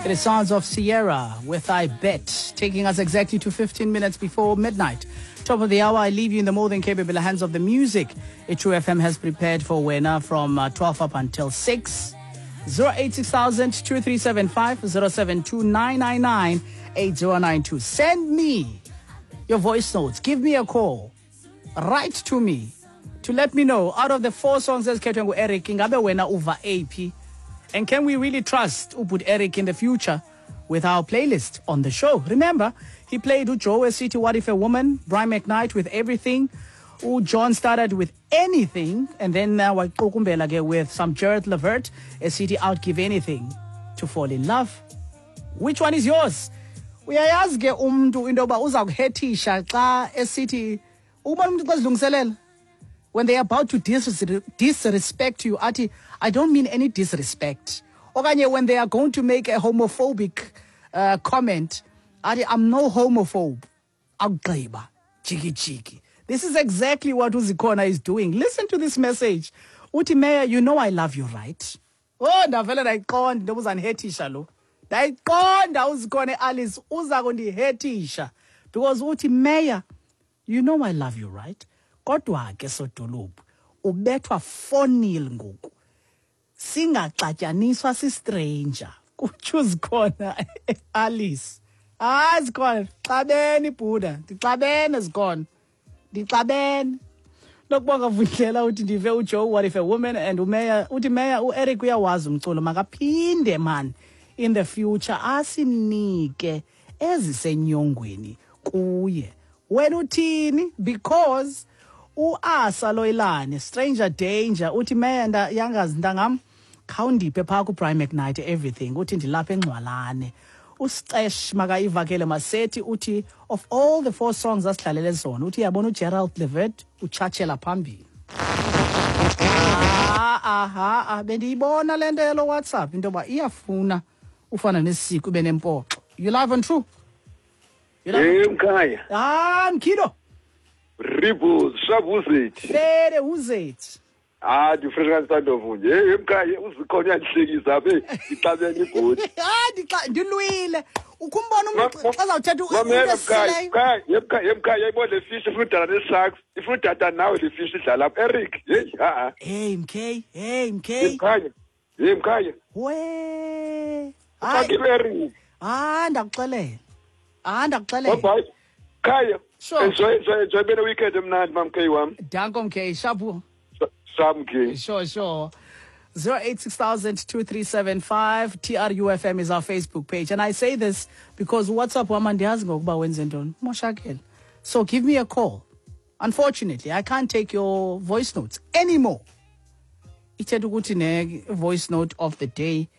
It is sounds of Sierra with I Bet, taking us exactly to 15 minutes before midnight. Top of the hour, I leave you in the more than capable hands of the music. True FM has prepared for Wena from 12 up until 6. 086 2375 072 8092. Send me your voice notes. Give me a call. Write to me to let me know out of the four songs ezikhethwe ngu-Eric ingabe wena uva aphi and can we really trust ubut Eric in the future with our playlist on the show? Remember, he played uJoe City What If a Woman, Brian McKnight with Everything, uJohn started with Anything, and then now waqukumbela ke with some Gerald Levert, a city outgive anything to fall in love. Which one is yours? Uyayazi ke umntu into yoba uza kuhethisha xa esithi ubona umntu xa zilungiselela when they are about to disrespect you athi I don't mean any disrespect okanye when they are going to make a homophobic comment athi I'm no homophobe akugqiba jiki jiki. This is exactly what uZikhona is doing. Listen to this message. Uthi mayor, you know I love you, right? Oh, ndavele ndayiqonda into yoba uzandihethisha lo. Ndayiqonda uZikhona Alice uza kundihethisha because uthi mayor, you know I love you, right? Kodwa ke sodolophu ubethwa 4-0 ngoku. Singaxatyaniswa si-stranger. Kutsho uZikhona Alice. Hayi Zikhona, xabene ibhuda, ndixabene Zikhona. Ndixabene. Nokubonga Vundlela uthi ndive uJoe What If a Woman and uMeya uthi Meya uEric uyawazi umculo makaphinde man in the future asinike ezisenyongweni kuye. Wena uthini? Because uAsa Loyilane Stranger Danger uthi Meya yangazi ntangam khawundiphe phaa kuBrian McKnight Everything uthi ndilapha eNgcwalane. Usicesh makayivakele Masethi uthi of all the four songs asidlalele zona uthi yabona uGerald Levert utshatshela phambili. Aha, bendiyibona le nto yelo WhatsApp into yoba iyafuna ufana nesiko ube nempoxo. You live on True? Hey mkhaya. Ah, Mkhido. Ribos, shabuzethi. Fere uzethi. Ah, ndifresh kansandovu nje. Hey mkhaya, uzikhona uyandihlekisa apha. Ndixabene ibhodi. Ah, ndilwile. Ukumbona umuntu xa zawuthetha uesileyo. Mkhaya, mkhaya, yayibona le fish ifuna udala ne-sharks. Ifuna udada nawe le fish idlala apha. Eric, hey, ha. Hey MK, hey MK. Mkhaya. Hey mkhaya. We. Hayi Eric. Ah, ndakuxelela. Ah, ndakuxelela. Bye. Khaya. Sure. Enjoy bene weekend emnandi mamkay wami. Danko MK, shabu. Samke. Sure, sure. 086 2375 TRUFM is our Facebook page. And I say this because WhatsApp wam andiyazi ngokuba wenze ntoni. Moshakele. So give me a call. Unfortunately, I can't take your voice notes anymore. Ithetha ukuthi ne voice note of the day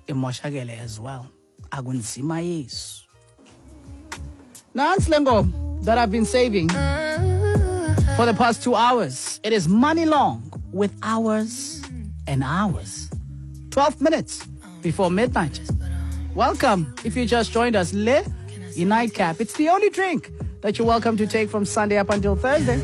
imoshakele as well. Akunzima Yesu. Nantsi le ngoma that I've been saving for the past 2 hours. It is Money Long with Hours and Hours. 12 minutes before midnight. Welcome if you just joined us. Le Nightcap. It's the only drink that you're welcome to take from Sunday up until Thursday.